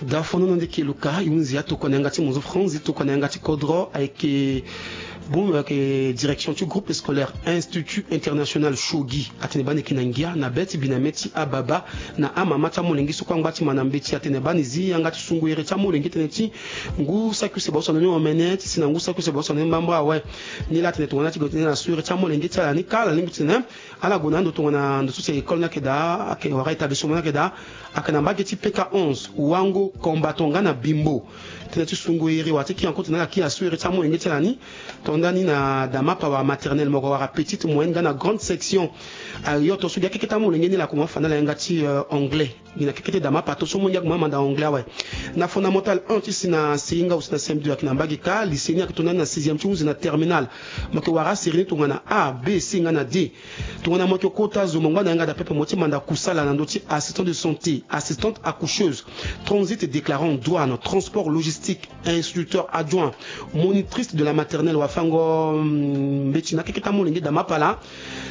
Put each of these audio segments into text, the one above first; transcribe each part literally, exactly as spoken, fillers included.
Dafono na ndeke luka i hunzi atokua na yanga ti mozo franzi tokua na yanga ti kodro ayeke bon ayeke direction ti groupe scolaire institut international shogi atene bani yeke na ngia na be ti bi na me ti ababa na amama ti amolenge so kue angba ti ma na mbeti atene bani zi yanga ti sungu ere ti amolenge tene ti ngu saki use baoso na ni omene ti si na ngu saki use baoso na ni mbamba awe. Ni laa atene tongana ti gue tene na so ere ti amolenge ti ala ni kâ ala lingbi tene ala gue na ando tongana ndo so si école ni ayeke daa ayeke wara établissement ni ayeke daa ayeke na mbage ti pk onze wango combattant nga na bimbo tene ti sungo iri wala ti ki anko tene ala ki aso iri ti amolenge ti ala ni. Tonda ni na damapa wala maternelle moko wala petite moyenne nga na grande section. Ayoto so gi akeke ti amolenge ni la koma fa na ala yanga ti anglais. Gi na keke ti damapa to so mo ngia koma manda anglais awe. Na fondamental un ti si na seinga aussi na cm deux ayeke na mbage ka lycée ni ayeke tonda ni na sixième ti hunzi na terminale. Mo yeke wara aseri ni tongana a b c nga na d. Tongana mo yeke kota zo mo ngba na yanga dapepe mo ti manda kusala na ndö ti assistant de santé, assistante accoucheuse, transit déclarant, douane, transport logistique, instructeur adjoint, monitrice de la maternelle wafango mbeti na keke ti amolenge damapa la.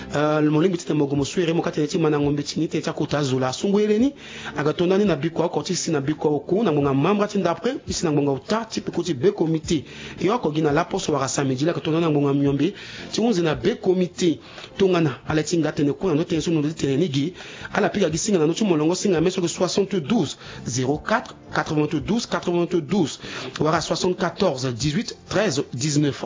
Molingbi ti tene mo gue mo su ere mo ka tene ti mandango mbeti ni tene ti akota zo la asungu ere ni. Aga tonda ni na bikua oko ti si na bikua oku na ngbonga mambra ti ndapre ti si na ngbonga ota ti peko ti be comité. E oko gi na laposo wala samedi la aga tonda ni na ngbonga miombe ti hunzi na be comité. Tongana ala ti hinga atene kue na ndö ti tënë so ndo ti tene ni gi. Ala pika gi singa na ndö ti molongo singa me so yeke soixante-douze zéro quatre quatre-vingt-douze quatre-vingt-douze wala soixante-quatorze dix-huit treize dix-neuf.